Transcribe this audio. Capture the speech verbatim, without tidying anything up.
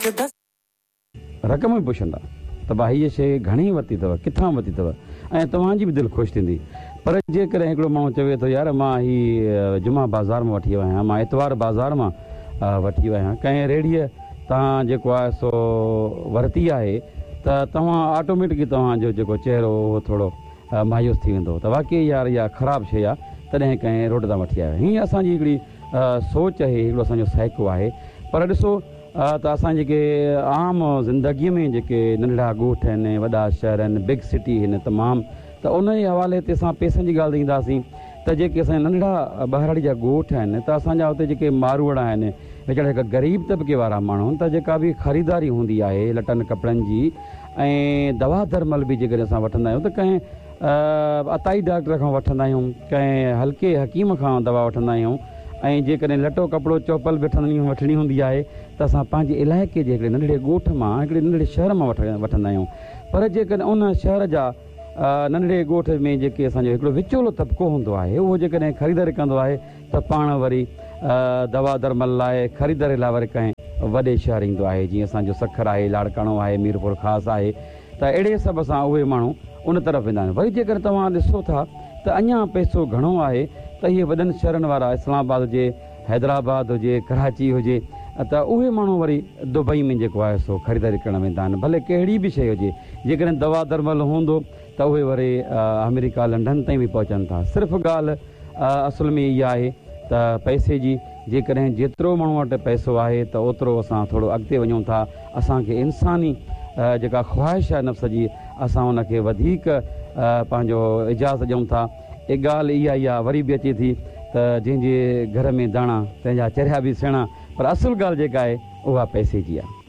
رقم به پڇندا ته ڀاء هيء شيء گهڻي ورتي اٿو، ڪٿان ورتي اٿو ۽ توهان جي به دل خوش ٿيندي. پر جيڪڏهن هڪڙو ماڻهو چوي ٿو يار مان هي جمعا بازار مان وٺي آيو آهيان، مان اتوار بازار مان وٺي آيو آهيان، ڪنهن ريڙهيء تان جيڪو آهي سو ورتي آهي ته توهان آٽوميٽڪلي توهان جو جيڪو چهرو اهو ٿورو مايوس ٿي ويندو ته واقعي يار اها خراب شيء آهي تڏهن ڪنهن روڊ تان وٺي آيو آهيان. هيء اسان جي هڪڙي سوچ آهي، هڪڙو اسان جو سائيڪو آهي. پر ڏسو ته اسان جيڪي عام زندگيء ۾ جيڪي ننڍڙا ڳوٺ آهن، وڏا شهر آهن، بگ سٽي آهن تمام، ته ان جي حوالي تي اسان پئسن جي ڳالهه تي اينداسين ته جيڪي اسان جا ننڍڙا ٻهراڙي جا ڳوٺ آهن ته اسان جا اتي جيڪي ماروئڙا آهن ويچارا هڪ غريب طبقي وارا ماڻهو آهن ته جيڪا به خريداري هوندي آهي لٽن ڪپڙن جي ۽ دوا درمل به جيڪڏهن اسان وٺندا آهيون ته ڪنهن عطائي ڊاڪٽر کان وٺندا آهيون، ڪنهن هلڪي حڪيم کان دوا وٺندا آهيون ۽ جيڪڏهن لٽو ڪپڙو چوپل به وٺڻي هوندي آهي ته اسان پنهنجي علائقي جي هڪڙي ننڍڙي ڳوٺ مان هڪڙي ننڍڙي شهر مان وٺندا آهيون. پر جيڪڏهن ان شهر جا ننڍڙي ڳوٺ ۾ جيڪي اسان جو هڪڙو وچولو طبقو هوندو آهي اهو جيڪڏهن خريداري ڪندو آهي ته پاڻ وري دوا درمل لاء خريداري لاء وري ڪنهن وڏي شهر ايندو آهي، جيئن اسان جو سکر آهي، لاڙڪاڻو آهي، ميرپور خاص آهي ته اهڙي حساب سان اهي ماڻهو ان طرف ويندا آهن. وري جيڪڏهن توهان ڏسو ٿا ته اڃا پئسو گهڻو آهي ته اهي وڏن شهرن وارا اسلام آباد هجي، حيدرآباد هجي، ڪراچي هجي ته اهي ماڻهو وري دبئي ۾ جيڪو آهي سو خريداري ڪرڻ ويندا آهن، ڀلي ڪهڙي به شيء هجي، جيڪڏهن دوا درمل هوندو ته اهي وري آمريڪا لنڊن تائين به پهچن ٿا. صرف ڳالهه اصل ۾ اها آهي ته پئسي جي، جيڪڏهن جيترو ماڻهو وٽ پئسو آهي ته اوترو اسان ٿورو اڳتي وڃون ٿا، اسان کي انساني جيڪا خواهش آهي نفس جي اسان ان کي وڌيڪ پنهنجو اجازت ڏيون ٿا. اها ڳالهه اها ئي آهي وري به اچي ٿي ته جنهن جي گهر ۾ داڻا تنهن جا چريا به سيڻا، پر اصل ڳالهه جيڪا آهي اها پئسي جي آهي.